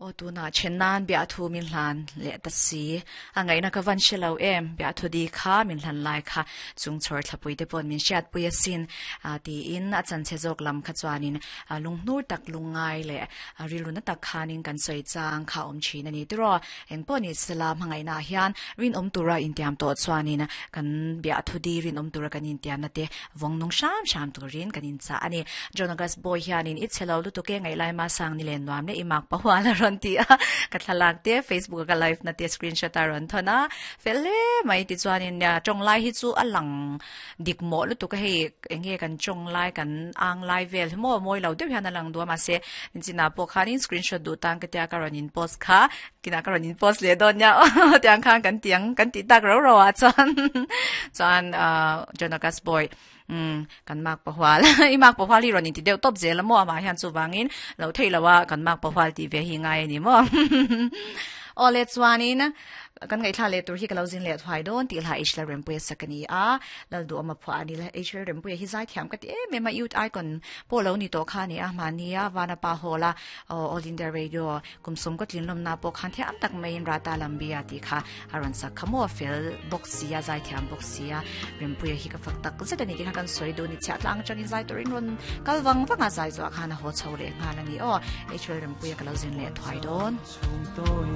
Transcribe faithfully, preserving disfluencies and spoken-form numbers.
O tuna chenan bia thu min hlan le ta si angai na ka van shelo em bia thu di kha min hlan lai kha chung chor thlapui te pon min siat pui asin a ti in a chan che jok lam kha chuanin lungnur tak lungai le rilu na tak khanin kan soi chang kha om chin ani tiro eng poni salam hangai na hian rin om tura in tiam to chuanin kan bia thu di rin om tura kan in tiam na te wong nung sham sham turin kan in cha ani jonagas boy hianin it chelo lu to ke ngai lai ma sang ni len nuam le imak pa hwala ron ti a ka thlalak te Facebook ka live na te screenshot a ron thona fele mai ti chuanin ya chong lai hi chu alang dik mo lu tu ka hei enge kan chong lai kan ang lai vel mo moi lo deuh hian alang duwa ma se china po khanin screenshot du tang ka tia ka ron in post kha kina ka ron in post le don nya tiang khan kan tiang kan ti tak ro ro a chuan chuan jonagas boy um kan mak pa hwal i mak pa hwal hi ron in ti deuh top zel mo ama hian chu wangin lo thei lawa kan mak pa hwal ti ve hi ngai ni mo ole chuanin kan ngai thla le tur hi ka lo zin le thwai don ti la ishla rempui sakani a lal du ama phwa ani la ishla rempui hi zai thiam ka ti em ma youth icon po lo ni to kha ni a ma ni a wana pa hola All India Radio kumsum ko tlin lom na po khan thiam tak main rata lambia ti kha aron sak khamo fel box sia zai thiam box sia rempui hi ka fak tak zet ani ki kha kan soi do ni cha tlang changin zai turin ron kalwang wanga zai zo khana ho chho le nga na ni o ishla rempui ka lo zin le thwai don.